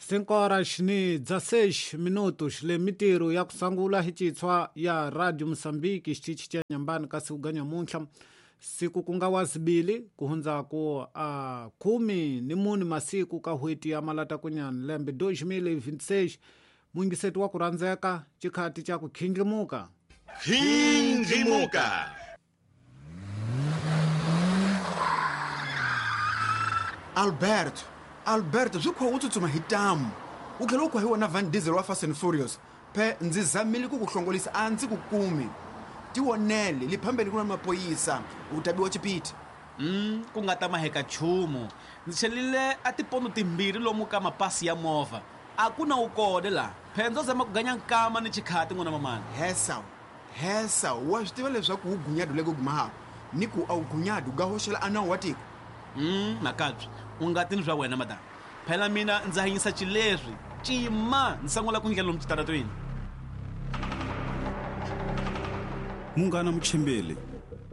5 horas ni 16 minutos le mitirho ya kusangula hi citshwa ya Radio Mosambiki xitichi xa Nyambani kasi uganya muntlha siku ku nga wa zibili kuhundzaku a 14 masiku ka hweti ya malata kunyana lembe 2026 muyingiseti wa ku rhandzeka xikhati xa ku khindlimuka. Khindlimuka. Alberto, Alberto swi khuwa u tsutsuma hi tamu u tlhela u khuwa hi wona Van Diesel wa Fast and Furious. Phe ndzi zamile ku ku hlongolisa a ndzi ku kumi. Tivonele le phambeni ku na mapoyisa u ta biwa chipiti. Ku nga ta maheka nchumu. Ndzi chelile a tipondo timbirhi lomu ka mapasi ya movha. A ku na wu kona laha. Phe ndzo zama ku ganya nkama ni chikhati n'wana mamani. Hesa, hesa, wa swi tiva leswaku wu gunyadu le ku gumahako ni ku a wu gunyadu ga hoxela a nawu wa tiko. Makabye, u nga tini swa wena madam. Phela mina ndza hanyisa xileswi. Cima, ndzi sangula ku ndlela lomu xitaratweni. Munghana muchimbeli,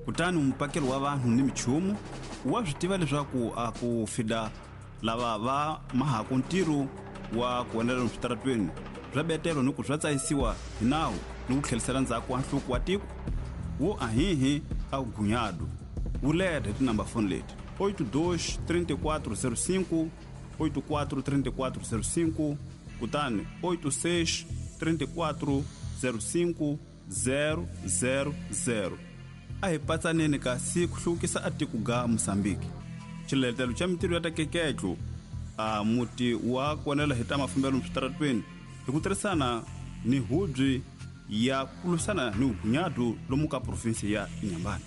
kutani mupakeli wa vanhu ni michumu wa swi tiva leswaku a ku fida lava va mahaku ntirho wa ku endlela lomu switaratweni swa betelo ni ku swa tsayisiwa hi nawu ni ku tlhelisela ndzhaku wa nhluko wa tiko wo ahihi a gunyadu wu leta hi tinamba foni leti 82 34 05 84 34 05 kutani 86 34 05 000. A hi patsaneni kasi ku hluvukisa a tiko ga Mosambiki. Xiletelo xa mintirho ya ta keketlo a muti wa konela hi ta mafambelo switaratweni hi ku tirhisana ni hubyi ya ku lwisana ni vugunyadu lomu ka provinsi ya Inhambane.